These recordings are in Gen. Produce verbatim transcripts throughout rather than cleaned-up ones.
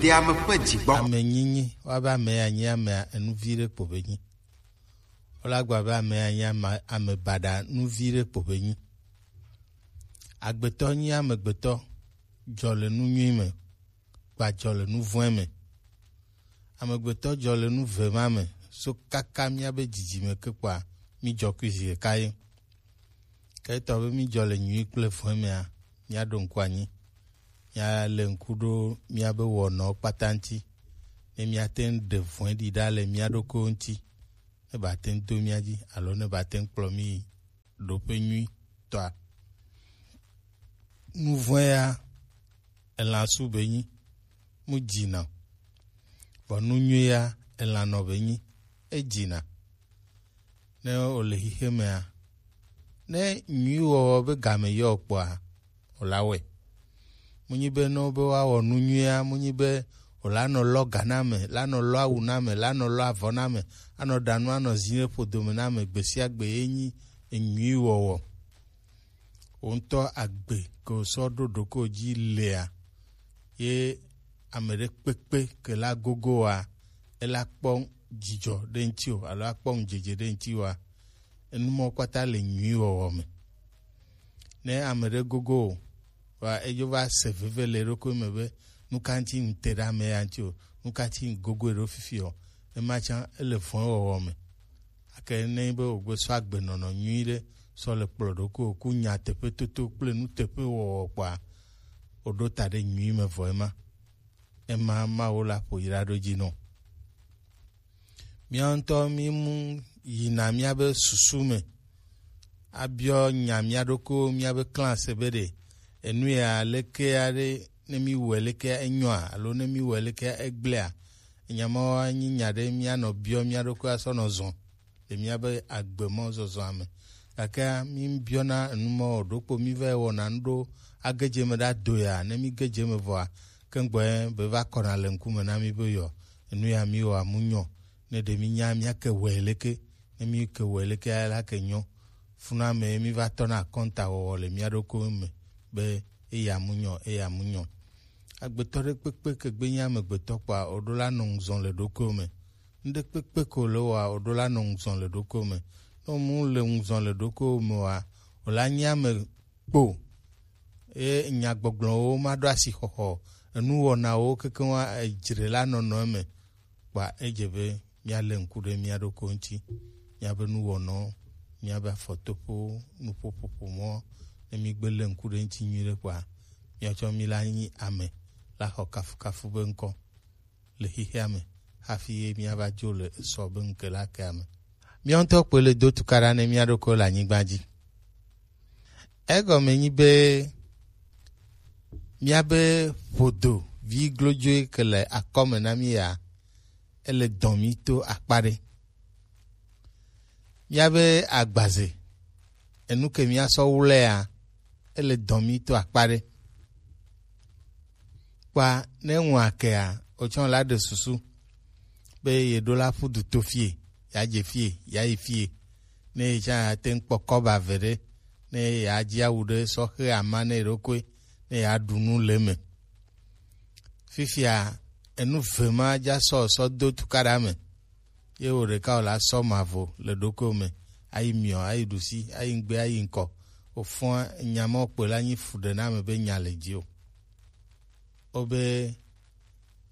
Te ame ƒe dzi gbɔ. Ame nyinyi, woabe ame ya nyi ame enuvi ɖe kpo be nyi. Wole agba be ame ya nyi ame, ame baɖa nuvi ɖe kpo be nyi. Agbetɔ nyi amegbetɔ dzɔ le nu nyui me, gba dzɔ le nu vɔ̃e me. Amegbetɔ dzɔ le nu ve ma me, so kaka míabe dzidzime ke kpɔa, mídzɔ kui zi ɖeka ye. Ke etɔ be mídzɔ le nyui kple vɔ̃e mea, míaɖo ŋku anyi. Míalé ŋku ɖo míabe wɔnawo kpata ŋuti, ne míate ŋu ɖe vɔ̃e ɖi ɖa le mía ɖokuiwo ŋuti, ne bate ŋu do mía dzi alo ne bate ŋu kplɔ mí yi ɖoƒe nyuitɔa. Nu vɔ̃e ya, elã su be nyi, mu dzina. Vɔ nu nyui ya, elã nɔ be nyi, edzina. Ne wòle xixe mea, ne nyui wɔwɔ be game yɔ kpɔa, wòla wɔe. Munyi be ne wobe woawɔ nu nyuia, munyi be wòlanɔ lɔ ga na ame, lanɔ lɔ awu na ame, lanɔ lɔ avɔ na ame, anɔ ɖa nu, anɔ zi ɖe ƒodo me na ame gbe sia gbe ye nyi enyui wɔwɔ. Wò ŋutɔ agbe ke wòsɔ ɖo ɖokuiwò dzi lea, ye ame ɖe kpekpe ke la gogo oa, ela kpɔ dzidzɔ ɖe ŋuti o, alo akpɔ ŋudzedze ɖe ŋuti oa, enu mawo kpata le nyui wɔwɔ me. Ne ame ɖe gogo o, vɔa edzo va se veve le eɖokui me be, nu ka ŋuti ŋte ɖe ame ya ŋuti o, nu ka ŋuti ŋgogoe ɖo fifi o, ema tsã ele vɔ̃e wɔwɔ me. Gake ne enyi be wògbe sɔ agbenɔnɔ nyui ɖe sɔ le kplɔ ɖokuiwò ku nyateƒetoto kple nuteƒewɔwɔ kpɔa, wòɖo ta ɖe nyui me vɔ ema. Ema Mawu la ƒo yi ɖa ɖo dzi nɔ. Míawo ŋutɔ mímu yina míabe susu me abiɔ nya mía ɖokuiwo míabe klã se be ɖe enu ya lekea ɖe, ne míwɔe lekea enyɔa alo ne míwɔe lekea egblẽa? Enya mawo anyi nya ɖe míanɔ biɔ mía ɖokui asɔ nɔ zɔ le míabe agbe mɔ zɔzɔa me. Gakea míbiɔna enu mɔ o, ɖokpo mívae wɔna nu ɖo age dze eme ɖa do ya, ne míge dze eme vɔa, keŋgbɔe be va kɔna le ŋkume na mí be yɔ, enu ya míwɔa mu nyɔ, ne ɖe mínya míake wɔe leke, ne míke wɔe leke la ke nyɔ. Funa me míva tɔna akɔnta wɔwɔ le mía ɖokuiwo me be eya mu nyɔ, eya mu nyɔ. Agbetɔ ɖe kpekpe ke gbe nyi amegbetɔ kpɔa, wòɖo la nɔ ŋuzɔ le ɖokuiwo me. Ŋɖe kpekpe ko le wɔa, wòɖo la nɔ ŋuzɔ le ɖokuiwo me. Ne wòmu le ŋuzɔ le ɖokuiwo me oa, wòla nyi ame kpo. Eye nyagbɔgblɔwo ma ɖo asixɔxɔ, enuwɔnawo kekeŋ wa edzre la nɔnɔ eme. Kpɔa edze be míalé ŋku ɖe mía ɖokuiwo ŋuti, míabe nuwɔnawo, míabe afɔtoƒewo, nuƒoƒoƒomɔ, ne mígbe lé ŋku ɖe eŋuti nyuiɖe kpɔa, míatsɔ mí la nyi ame la xɔ kafukafu be ŋkɔ le xexea me hafi ye míava dzo le esɔ be ŋke la kea me. Míawo ŋutɔ kpoe le do tukaɖa ne mía ɖokuiwo le anyigba dzi. Egɔme nyi be míabe ƒodo vi glodzoe ke le akɔme na mí ya, ele dɔn mí to akpa ɖe. Míabe agbaze, enu ke míasɔ wlɛa, ele dɔn mí to akpa ɖe. Kpɔa, ne ŋua kea, wotsɔ la ɖe susu be yeɖo la ƒu du to fie, yeadze fie, yeayi fie. Ne yetsã yeate ŋu kpɔ kɔba ve ɖe, ne yeadzi awu ɖe sɔ xe ama ne yeɖokui, ne yeaɖu nu le eme. Fifia, enu ve ma dza sɔ sɔ do tukaɖa me. Ye wò ɖeka wòla sɔ mavo le ɖokuiwò me, ayi miɔ, ayi ɖusi, ayi ŋgbe, ayi ŋkɔ. Wòfɔa nya ma kpɔe la nyi fuɖename be nya le dzi o. Wobe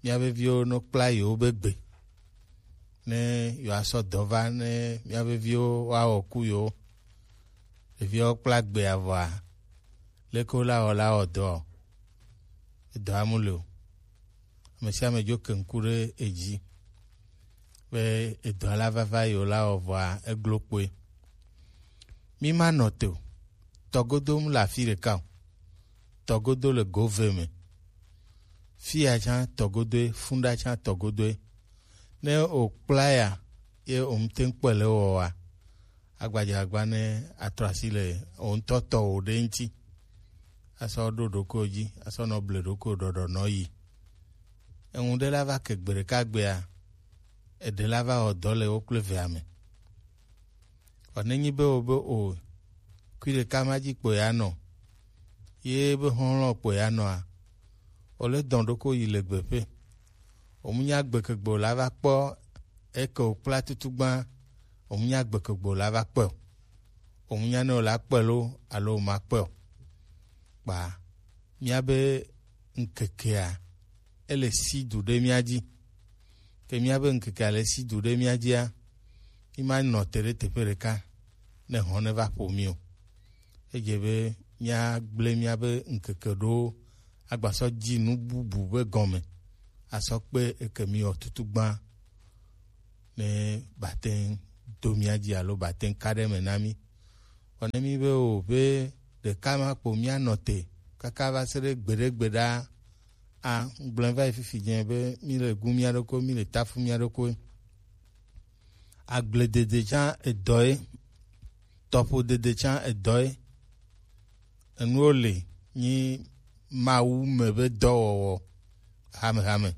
míabe viwo no kpla yewo be gbe. Ne yewoasɔ dɔ va, ne míabe viwo woawɔ ku yewo. Ɖeviawo kpla gbea vɔa, leke wole awɔ la wɔ dɔ? Edɔa mu le o. Ame sia ame dzo ke ŋku ɖe edzi be edɔa la vava yi wòla wɔ vɔa, eglo kpoe. Mí ma nɔ te o. Tɔgodo mu le afi ɖeka o. Tɔgodo le gove me. Fiya tsã tɔgodoe, funda tsã tɔgodoe. Ne wòkpla ya, ye wòmte ŋu kpɔe le wɔwɔa, agbadzagba ne atrɔ asi le wò ŋutɔ tɔwò ɖe ŋuti. Asɔ ɖo ɖokuiwò dzi, asɔ nɔ ble ɖokuiwò ɖɔɖɔ nɔ yi. Eŋu ɖe la va ke gbe ɖeka gbea, eɖe la va wɔ dɔ le wo kple evea me. Vɔ nenyi be wo be o, kui ɖeka ma dzi kpo ya nɔ, ye be xɔlɔ̃ kpo ya nɔa, wòle dɔn ɖokui yi le gbeƒe. Omunya gbekegbe o la va kpɔ eke o kpla tutu gba. Omunya gbekegbe o la va kpɔ. Omunya ne o la kpɔ lo alo o ma kpɔ. Kpa mía be ŋkekea ele si du ɖe mía dzi. Ke mía be ŋkekea le si du ɖe mía dzia, mi ma nɔ te ɖe teƒe ɖeka ne hɔn ne va ƒo mi o. Edze be míagblẽ míabe ŋkeke ɖo agbasɔ dzi nu bubu be gɔme asɔ kpe eke mi wɔ tutu gbã ne bate ŋu do mía dzi alo bate ŋu ka ɖe eme na mí. Vɔ ne mí be o be ɖeka ma kpo míanɔ te kaka va se ɖe gbeɖe gbeɖa a, ŋgblẽ va yi fifi dzẽ be mí le gu mía ɖokui, mí le tafu mía ɖokui. Agbledede tsã edɔ ye, tɔƒodede tsã edɔ ye. Enuwo le nyi Mawu me be dɔwɔwɔ hamehame.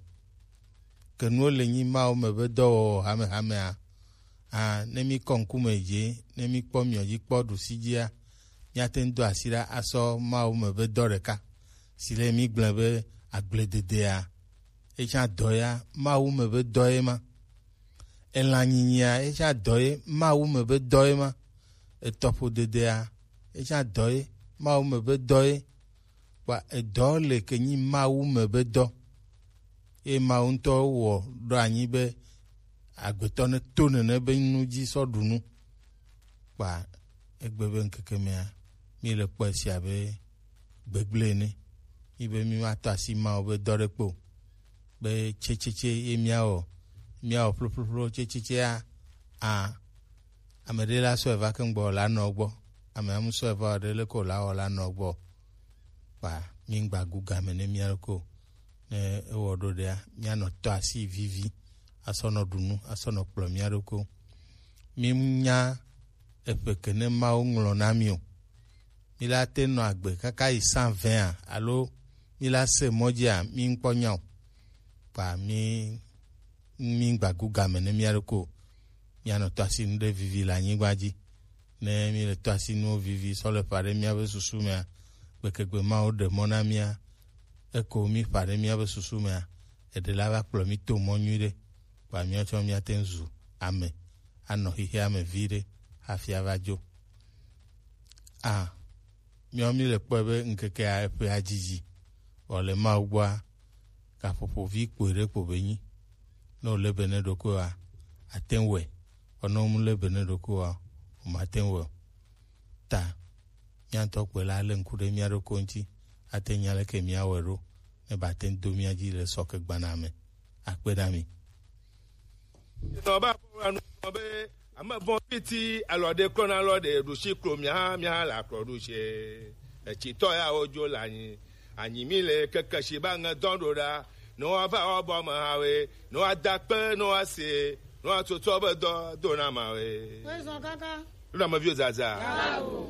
Ke nuwo le nyi Mawu me be dɔwɔwɔ hamehame a, a, ne mí kɔ ŋkume dzi, ne mí kpɔ miɔ dzi kpɔ ɖusi dzia, míate ŋu do asi ɖa asɔ Mawu me be dɔ ɖeka si le mí gblẽ be agblededea. Etsã dɔ ya, Mawu me be dɔ ye ma. Elã nyinyia, etsã dɔ ye, Mawu me be dɔ ye ma. Etɔƒodedea, etsã dɔ ye, Mawu me be dɔ ye. Kpa edɔ le ke nyi Mawu me be dɔ. Ye Mawu ŋutɔ wɔ ɖo anyi be agbetɔ ne to nene be nu dzi sɔ ɖu nu. Kpa egbe be ŋkeke mea, mí le kpɔe sia be gbegblẽ ene. Mí be mí ma tɔ asi Mawu be dɔ ɖe kpe o. Be tsetsetse ye míawɔ, míawɔ ƒloƒloƒlo tsetsetsea, a, ame ɖe la sɔe va ke ŋgbɔ la nɔ gbɔ. Ame amu sɔe va o ɖe le ko la wɔ la nɔ gbɔ. Kpa mí ŋgba gu game ne mía ɖokui o. Ne ewɔ ɖo ɖea, míanɔ tɔ asi vivi, asɔ nɔ ɖu nu, asɔ nɔ kplɔ mía ɖokui. Mí nya eƒe ke ne Mawu ŋlɔ na mí o. Mí la te nɔ agbe kaka yi san vɛa alo mí la se mɔ dzia, mí ŋkpɔ nya o. Kpa mí mí ŋgba gu game ne mía ɖokui o. Míanɔ tɔ asi nu ɖe vivi le anyigba dzi. Ne mí le tɔ asi nuwo vivi sɔ le ƒa ɖe míabe susu mea, gbekegbe Mawu ɖe mɔ na mía. Eko mí ƒa ɖe míabe susu mea, eɖe la va kplɔ mí to mɔ nyui ɖe. Kpa míawo tsɔ míate ŋu zu ame, anɔ xixea me vi ɖe hafi ava dzo. A, míawo mí le kpɔe be ŋkekea eƒea dzidzi, vɔ le Mawu gbɔa, gaƒoƒo vi kpoe ɖe kpo be nyi. Ne wòle be ne ɖokuiwòa, ate ŋu wɔe. Vɔ ne wòmu le be ne ɖokuiwòa, wòmate ŋu wɔe o. Ta, mía ŋutɔ kpoe la le ŋku ɖe mía ɖokui ŋuti, ate ŋu nya leke míawɔe ɖo, ne bate ŋu do mía dzi le sɔke gbana me. Akpe na mi. Nɔ ba ƒo la nu be ame vɔ̃ fiti alɔ ɖe klɔna alɔ ɖe ɖusi klo mia mia la klɔ ɖusi. Etsitɔ ya wo dzo le anyi. Anyi mi le keke si ba ŋe dɔn ɖo ɖa. Ne wa va wa bɔ me ha we. Ne wa da kpe ne wa se. Ne wa tsotso be dɔ do na ma we. Wezɔn kaka. Ɖo na me viwo zaza. Yawo.